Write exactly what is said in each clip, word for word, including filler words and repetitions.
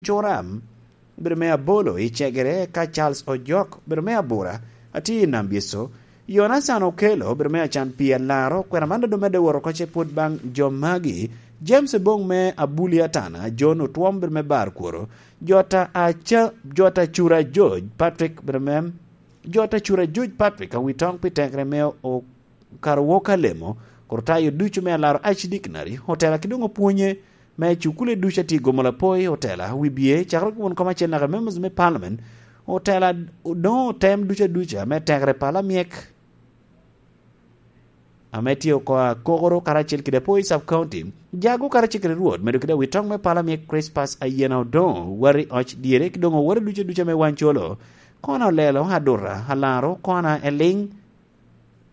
Coram, obedo me abolo i Cegere, ka Charles Ojok, obedo me abura, atye i Nambyeco. Yonacan Okello, obedo me acan pii alaro, kwena man doŋ medde wot oko ce pwod baŋ jo magi. James Ebong me Abuli Atana, John Otwom, obedo me bar kworo. Jota Aca-, Jota Cura George, Patrick, obedo me, Jota Cura George Patrick, awi toŋ pi tekere me o-, kara wok alemo, kor tayo ducu me alaro Archdictionary, otela ki doŋ opwonye me cukule ducu atye i Gomolo Apoi, otela, wibye, cakere ki won kom acel naka members me parliament, otela, doŋ otem ducu aduca me tekere pala myek, ame tye oko Akokoro karacel kede Apoi sub county, Jago karacel kede Rwot, medo kede awitoŋ me pala myek Crispas Ayena Odoŋo, wari oc dyere, ki doŋ owore ducu aduca me Wancolo, Kona Olelo, Aduta, Alaro, Kona Eliŋ,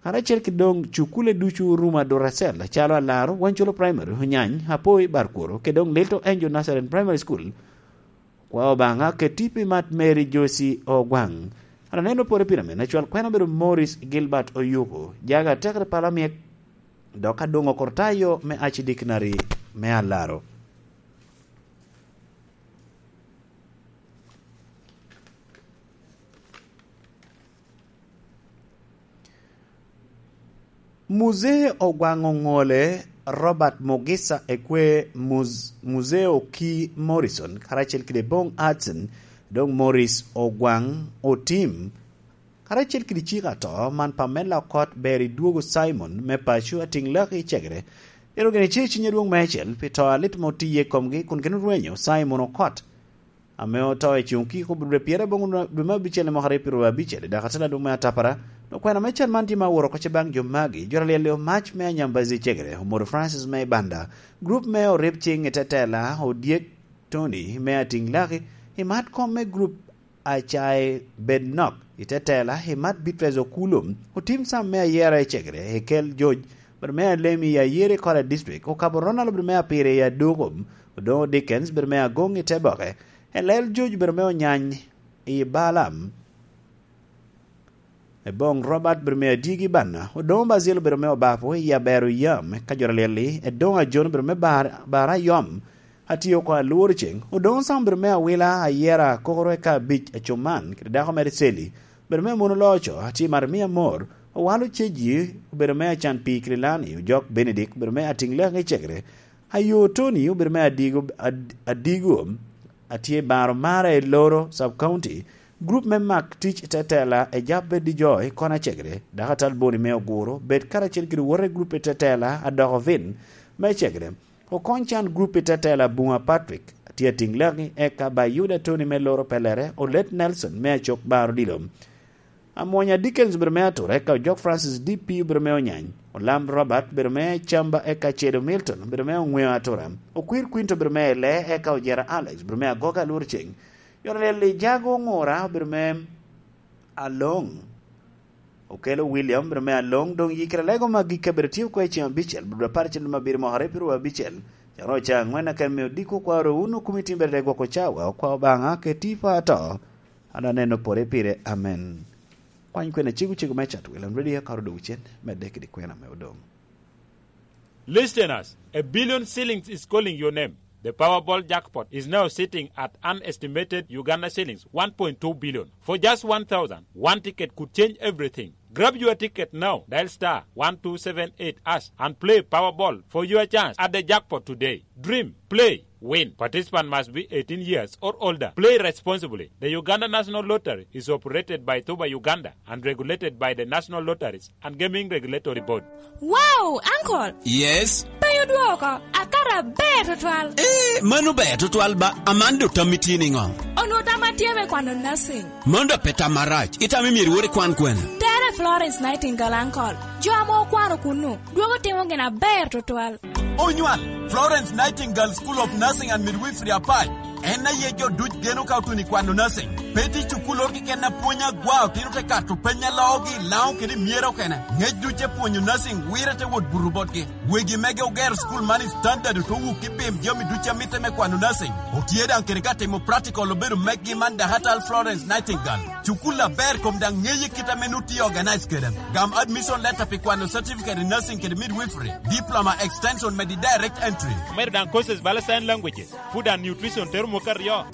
karacel ki doŋ cukule ducu orumo aduracel, acalo Alaro, Wancolo Primary, Onyany, Apoi, Barkworo, kede doŋ Little Angel Nazarene Primary School. Kwa Obaŋa keti pi mat Mary Josie Ogwaŋ. An aneno pore pire men, acwal kwena obedo Morris Gilbert Oyuku, jaga atekere pala myek, dok adoŋo kor tayo me Archdictionary me Alaro. Muzee Ogwaŋ Oŋole, Robert Mugisa Ekwe, Muz-, Muzee Oki Morrison, karacel kede Bong Hudson, doŋ Morris Ogwaŋ Otim, karacel kede cik ato man Pamela Okot, ber idwogo Simon me paco atiŋ laki i Cegere. Ero gin ice i ciny adwoŋ meicel pi to alit ma otiye i komgi kun gin orwenyo Simon Okot. Ame oto i cuŋ kiko dwe pyeraboro dwe me abicel i mwaka aryo pyeraryo abicel, i dako atela dum me atapara, okwena me can man tye ma oworo oko ce baŋ jo magi, jo alyel i omac me Anyambazi Cegere, Omoro Francis me Ibanda, grup me Orib Cing i Tetela, Odyek Tony me Atiŋ Laki, i mat kom me grup Acae Bed Nok i Tetela, i mat Beatrice Okulum, Otim Sam me Ayera i Cegere, Ekel George, bed me Alemi i Ayere Kora District, Okabo Ronald bed me Apire i Adukum, Odoŋo Dickens bed me Agoŋ i Teboke, Elel Juc obedo me Onyany i Balaam, Eboŋ Robert obedo me Adyegi Banna, Odoŋo Bazil obedo me Obapo i Abero Yam, ka jo alyel-li, Edoŋo Ajon obedo me Bar-, Bara Yom, atye oko Alworo Ceŋ, Odoŋo Sam obedo me Awila, Ayera Akokoro eka Abic Acuman, kede dako mere Celi, obedo me Mono Loco, atye Marimia Amor, Owalo Ceji obedo me Acan Pii Kililani, Ojok Benedict obedo me Atiŋ Lek i Cegere, Ayo Tony obedo me Adigo, Ad-, Adigo, atye Baro Mara i Loro Sub County, grup me Mak Tic Tetela, Ejap Bed Dijoy, Kona Cegere, Dakatal Boni me Oguro, bed karacel kede wote grup i Tetela, Adoko Vin me Cegere, Okony Can grup i Tetela, Bunga Patrick, atye Atiŋ Leki, eka Bayuda Tony me Loro Pelere, Olet Nelson me Acok Baro Dilo. Amwonya Dickens obedo me Atura, eka Ojok Francis D P obedo me Onyany, Olam Robert obedo me Camba, eka Cedo Milton obedo me Oŋweo Atura, Okwir Quinto obedo me Ele, eka Ojera Alex obedo me Agoga Alwor Ceŋ, Yonalel Ijago Oŋura obedo me Aloŋ, Okelo William obedo me Aloŋ, doŋ yikere lego ma gik kabedo tye oko i ceŋ abicel, bed apar cen ma abiro mokere pi ruu abicel, caro ca aŋwen aken me odiko kwaro wun okumi timbere de gwoko cawa, okwa Obaŋa keti pa ato. An aneno pore pire. Amen. Kwany kwena cego cego me cat William Radio, ka odogo cen, medde kede kwena me odoŋ. Listeners, a billion shillings is calling your name. The Powerball jackpot is now sitting at an estimated Uganda shillings one point two billion. For just one thousand, one ticket could change everything. Grab your ticket now. Dial star one two seven eight hash and play Powerball for your chance at the jackpot today. Dream, play, win. Participant must be eighteen years or older. Play responsibly. The Uganda National Lottery is operated by Tuba Uganda and regulated by the National Lotteries and Gaming Regulatory Board. Wow, uncle! Yes? Pe odwoko, akara ber tutwal. Eh, mano ber tutwal ba, Amanda, otammi tye niŋo? Onwoŋo tamma tye me kwano nursing. Mano dok pe tam marac, itamo myero iwot ikwan kwene? Tere Florence Nightingale, uncle. Jo ame okwano kunnu, dwogo timo gin aber tutwal. Onywal, Florence Nightingale School of Nursing and Midwifery apac. En aye jo duc geno ka otuno i kwano nursing. Pe tye cukul oro keken a pwony agwa, otino te kato peny a loogi i Laŋo kede i Myera okene. Ngec duc e pwonyo nursing wire te wot buto botgi. Wegi mege ogero cukul man i standard, ote wuk ki pim jami duc a mitte me kwano nursing. Otye daŋ kede ka timo practical obedo meggi man Dakatal Florence Nightingale. Cukul aber kom daŋ ŋeye kit ame nut tye organize kede. Gam admission letter pi kwano certificate in nursing kede midwifery, diploma extension medi direct entry. Omedo daŋ courses bala sign languages, food and nutrition, tero mwaka aryo.